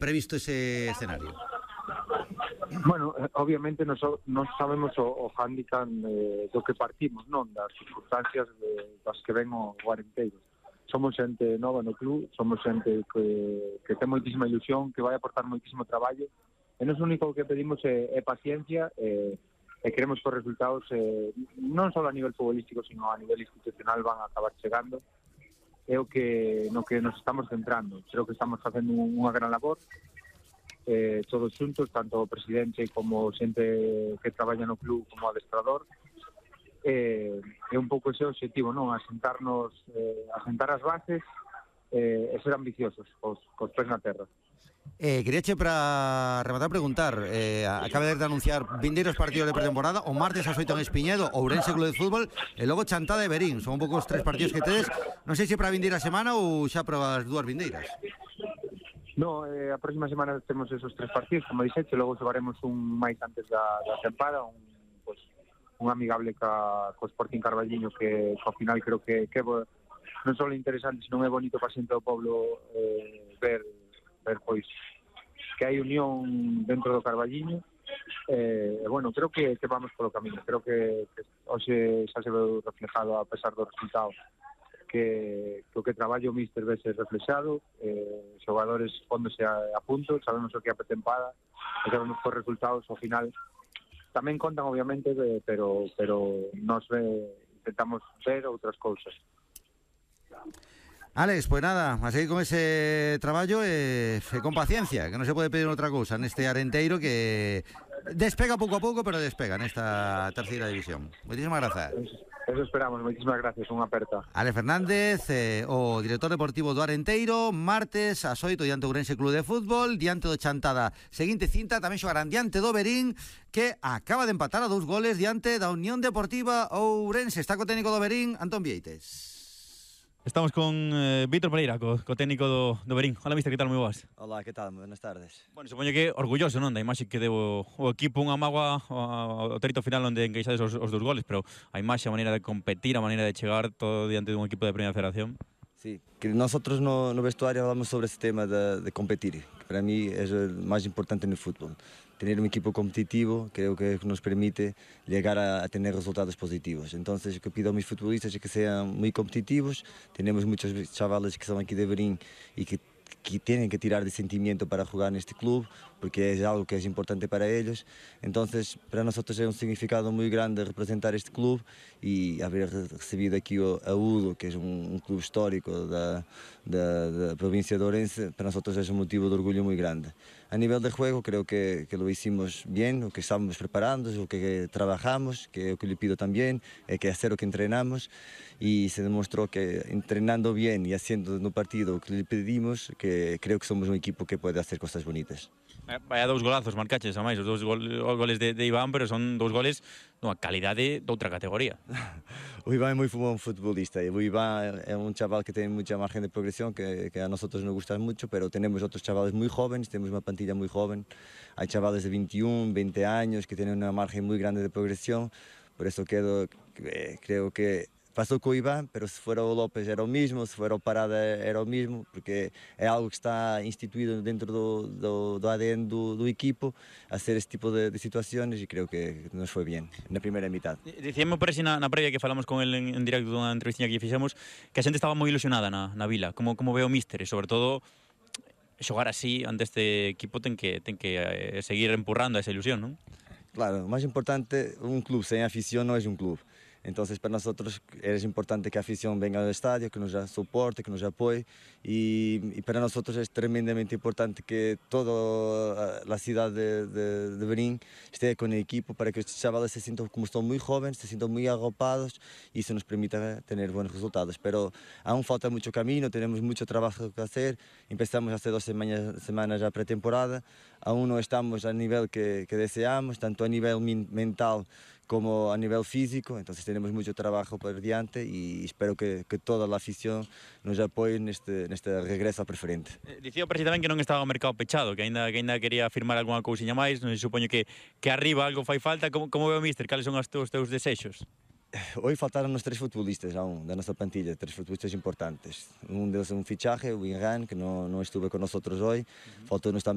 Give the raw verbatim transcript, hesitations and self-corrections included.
previsto ese escenario? Bueno, obviamente non so, sabemos o, o handicap eh, do que partimos, non? Das circunstancias de, das que ven o, o Arenteiro. Somos xente nova no club, somos xente que, que ten moitísima ilusión, que vai aportar moitísimo traballo, e nos único que pedimos é, é paciencia, e, e queremos que os resultados eh, non só a nivel futbolístico, sino a nivel institucional van a acabar chegando. É o que no que nos estamos centrando. Creo que estamos facendo unha gran labor, eh, todos xuntos, tanto o presidente como xente que traballa no club como o adestrador. É eh, un pouco ese objetivo, non? Asentarnos, eh, asentar as bases eh, e ser ambiciosos cos, cos pés na terra. Eh, quería che para rematar preguntar, eh, acaba de anunciar vindeiros partidos de pretemporada, o martes ás oito en Espiñedo, Ourense Club de Fútbol, e logo Chantada e Verín. Son un pouco os tres partidos que tedes, non sei se para a vindeira semana ou xa para as dúas vindeiras. No, eh, a próxima semana temos esos tres partidos, como dixete, logo xogaremos un máis antes da, da tempada, un pues, un amigable ca, co Sporting Carballiño que ao final creo que, que non só é interesante, senón é bonito para xente do povo eh, ver, ver pois que hai unión dentro do Carballiño. E eh, bueno, creo que, que vamos polo camino, creo que, que hoxe xa se ve reflejado a pesar dos resultados que, que o que traballo o míster vese reflexado, eh, xogadores póndose a, a punto, sabemos o que é a pretempada e sabemos que os resultados ao final tamén contan, obviamente, pero pero nos ve, intentamos ver outras cousas. Alex, pues nada, a seguir con ese traballo e eh, con paciencia, que non se pode pedir outra cousa neste Arenteiro que despega pouco a pouco, pero despega nesta terceira división. Moitísimas grazas. Eso esperamos, moitísimas gracias, unha aperta. Alex Fernández, eh, o director deportivo do Arenteiro, martes ás oito diante do Ourense Club de Fútbol, diante do Chantada. Seguinte cinta, tamén xogarán diante do Verín, que acaba de empatar a dous goles diante da Unión Deportiva Ourense. Está co técnico do Verín, Antón Vieites. Estamos con eh, Víctor Pereira, co, co técnico do, do Verín. Hola, mister, que tal? Moi boas. Hola, que tal? Buenas tardes. Bueno, supoño que orgulloso, non, da imaxe que deu o equipo, unha mágoa ao trito final onde encaixades os, os dos goles, pero a imaxe, a maneira de competir, a maneira de chegar todo diante dun equipo de Primeira Federación. Sí, que nosotros no, no vestuario hablamos sobre ese tema de, de competir, que para mí es el más importante en el fútbol. Tener un equipo competitivo creo que nos permite llegar a, a tener resultados positivos. Entonces, lo que pido a mis futbolistas es que sean muy competitivos. Tenemos muchos chavales que son aquí de Verín y que que tienen que tirar de sentimiento para jugar en este club, porque es algo que es importante para ellos. Entonces, para nosotros es un significado muy grande representar este club y haber recibido aquí a Udo, que es un, un club histórico de, de, de la provincia de Ourense, para nosotros es un motivo de orgullo muy grande. A nivel de juego creo que, que lo hicimos bien, lo que estábamos preparando, lo que trabajamos, que lo que le pido también, es que hacer lo que entrenamos, y se demostró que entrenando bien y haciendo en un partido lo que le pedimos, que creo que somos un equipo que puede hacer cosas bonitas. Vaya dous golazos marcaches, a máis, os dous gol, goles de, de Iván, pero son dous goles dunha calidade de outra categoría. O Iván é moi buen futbolista, e o Iván é un chaval que ten mucha margen de progresión, que, que a nosotros nos gusta mucho, pero tenemos outros chavales moi jóvenes, temos unha plantilla moi joven, hai chavales de veintiún, veinte años que tienen unha margen moi grande de progresión, por eso quedo, creo que pasou co Iván, pero se fuera o López era o mismo, se fuera o Parada era o mismo, porque é algo que está instituído dentro do, do, do A D N do, do equipo, hacer este tipo de, de situaciones, e creo que nos foi bien na primeira mitad. Dicíamos por así na, na previa que falamos con el en, en directo dunha entrevista que fixemos, que a xente estaba moi ilusionada na, na vila, como, como ve o míster, e sobre todo xogar así ante este equipo ten que, ten que eh, seguir empurrando esa ilusión, non? Claro, o máis importante, un club sen afición non é un club. Entonces, para nosotros es importante que la afición venga al estadio, que nos soporte, que nos apoye, y, y para nosotros es tremendamente importante que toda la ciudad de, de, de Verín esté con el equipo para que estos chavales se sientan, como son muy jóvenes, se sientan muy agrupados y eso nos permita tener buenos resultados. Pero aún falta mucho camino, tenemos mucho trabajo que hacer, empezamos hace dos semanas, semanas ya pretemporada, aún no estamos al nivel que, que deseamos, tanto a nivel mental como a nivel físico, entonces tenemos mucho trabajo por diante y espero que, que toda la afición nos apoye neste, neste regreso a preferente. Eh, dicía o presidente tamén que non estaba o mercado pechado, que ainda, que ainda quería firmar algunha cousiña máis, non se supoño que, que arriba algo fai falta. Como, como ve o míster? Cales son os teus, teus desexos? Hoy faltaron-nos tres futbolistas aún da nossa plantilla, tres futbolistas importantes. Um deles é um fichaje, o Inran, que não, não estuvo con nosotros hoy. Faltou-nos também